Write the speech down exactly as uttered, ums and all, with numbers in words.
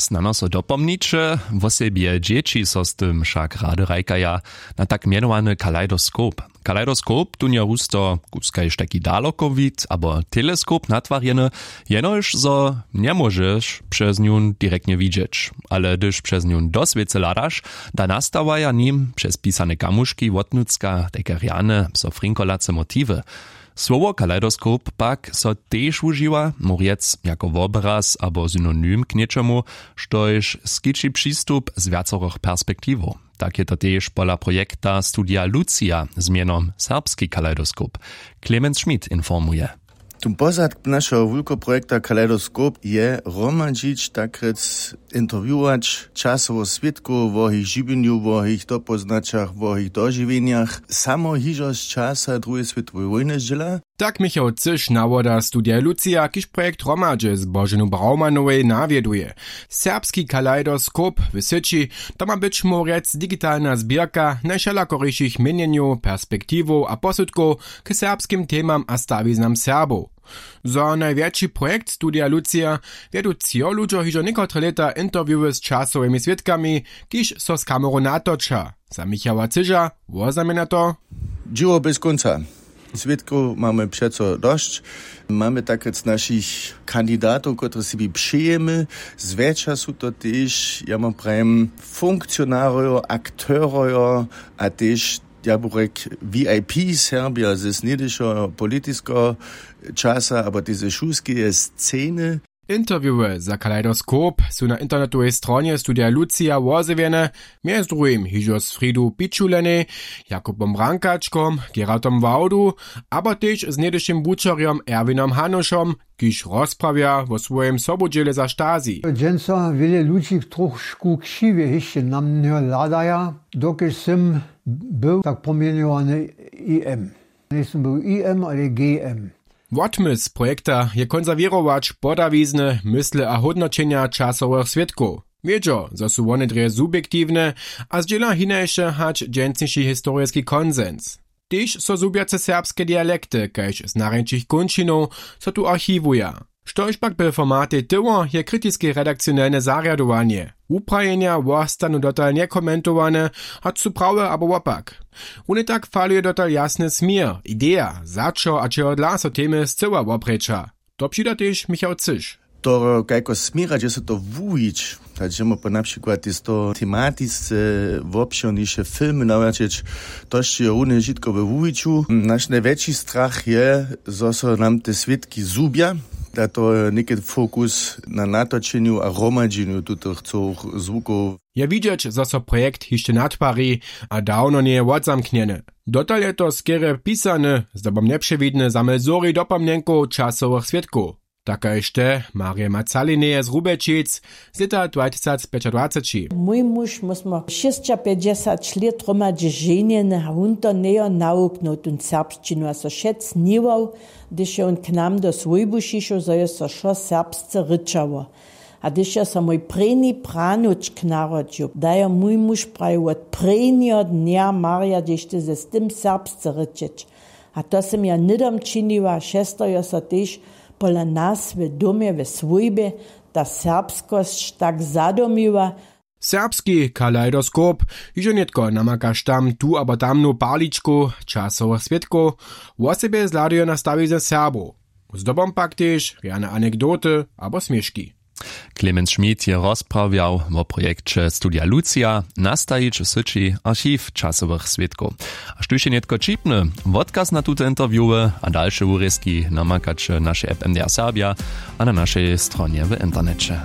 Snano so dopomniće, wosebje dźěći so z tym wšak rady hrajkaja na tak mjenowany kalejdoskop. Kalejdoskop tón je husto kuskaž taki dalokowid abo teleskop natwarjeny, jenož zo njemóžeš přez njón direktnje widźeć, ale hdyž přez njón do swěcy hladaš, da nastawaja nim přez pisane kamuški wotnutřka tajke rjane so frinkolace motiwy. Słowo kalejdoskop pak so tež wužiwa, móhł rjec jako wobraz abo synonym k něčemu, štož skići přistup z wjacorych perspektiwow. Tak je to tež pola projekta Studija Lucija z mjenom Serbski kalejdoskop. Clemens Schmidt informuje. Tón pozadk našeho wulkoprojekta Kaleidoskop je hromadźić, tak rjec, interviewować časowych swědkow wo jich žiwjenju, wo jich dopoznaćach, wo jich dožiwjenjach, samo hižo z časa druheje swětoweje wójny zdźěla. Tak Michał Cyš, nawoda Studija Lucija, kiž projekt hromadźe z Boženu Braumanowej nawjeduje. Serbski kaleidoskop w syći, to ma być, móhł rjec, digitalna zběrka najwšelakorišich měnjenjow, perspektiwow a posudkow k serbskim temam a stawiznam Serbow. Za najwjetši projekt Studija Lucija wjedu třo ludźo hižo někotre lěta interviewy z časowymi swědkami, kiž so z kamerow natoča. Za Michała Cyža woznamjenja to: Dźěło běz kónca. Swědkow mamy přeco dosć. Mamy tak rjec našich kandidatow, kotrež sebi přejemy. Zwjetša su to tež, ja mam prajem, funkcionarojo, akterojo a tež, ja bych rjek, V I P Serbja ze snjedyšeho politiskeho časa abo tež ze šulskeje sceny. Interviewy za Kaleidoskop su na internetowej stronje Studija Lucija wozjewjene, mjez druhim hižo z Fridu Pičulenej, Jakubom Brankačkom, Gerardom Wałdu abo tež z něhdyšim wučerjom Erwinom Hanušom, kiž rozprawja wo swojim sobudźěle za Stasi. Dźensa wjele ludźi trošku křiwje hišće na mnje hladaja, dokelž sym był tak pomjenowany I M. Njejsym był I M, ale G M. Wotmysł projekta je konserwěrować podawizny, mysle a hódnoćenja časowych swědkow. Wědźo, zo su wone drje subjektiwne a zdźěla hinaše hač dźensniši historiski konsens. Tež so zhubjace serbske dialekty kaž z narjeńšich kónčinow so tu archiwuja. Štož pak by w formatej tyło, je kritiske redakcionelne zarjadowanje. Wuprajenja wostanu dotal njekomentowane, hač su prawe abo wopak. Runje tak faluje dotal jasny směr, ideja, za čo a čehodla so temy scyła woprěča. To přida tež Michał Cyš. To, kajko směra, dźe so to wuwić, tak dźemo po na přikład tež to tematisce wobšěrniše filmy nawjaćeć, to sće runje wšitko we wuwiću. Naš najwjetši strach je, zo so nam te swědki zhubja, da to je něke fokus na natočenju a hromadźenju tutych cyłych zwukow. Je widźeć, zo so projekt hišće natwari a dawno njeje wotzamknjeny. Dotal je to skerje pisany, zdobom njepřewidny zamysł zhori dopomnjenkow časowych swědkow. Takaž te Marje Macalineje z Rubelčic z lěta dwatysacpjećadwaceći. Mój muž, my smo šěsćapjećdźesać lět hromadźe ženjeny a wón to njejo nawuknył, tón serbšćinu, a so wšec sniwał, hdyž je wón k nam do swójbu přišoł, zo je so wšo serbsce rěčało. A hdyž jo so mój prěni pranučk narodźił, da jo mój muž prajił wot prěnjeho dnja marja dźež ty z tym serbsce rěčeć. A to sym ja hnydom činiła, přesto jo so tež pola nas w domje w swójbje ta serbskosć tak zadomiła. Serbski kaleidoskop hižo nětko namakaš tam tu abo tamnu parličku časowych swědkow, wosebje zhladujo na stawizny Serbow. Zdobom pak tež rjane anekdoty abo směški. Clemens Schmidt je rozprawjał wo projekće Studija Lucija, nastajić w syći archiw časowych swědkow. A štóž je nětko ćipny, wotkaz na tute interviewy a dalše wurězki namakaće w našej app M D R Serbja a na našej stronje w interneće.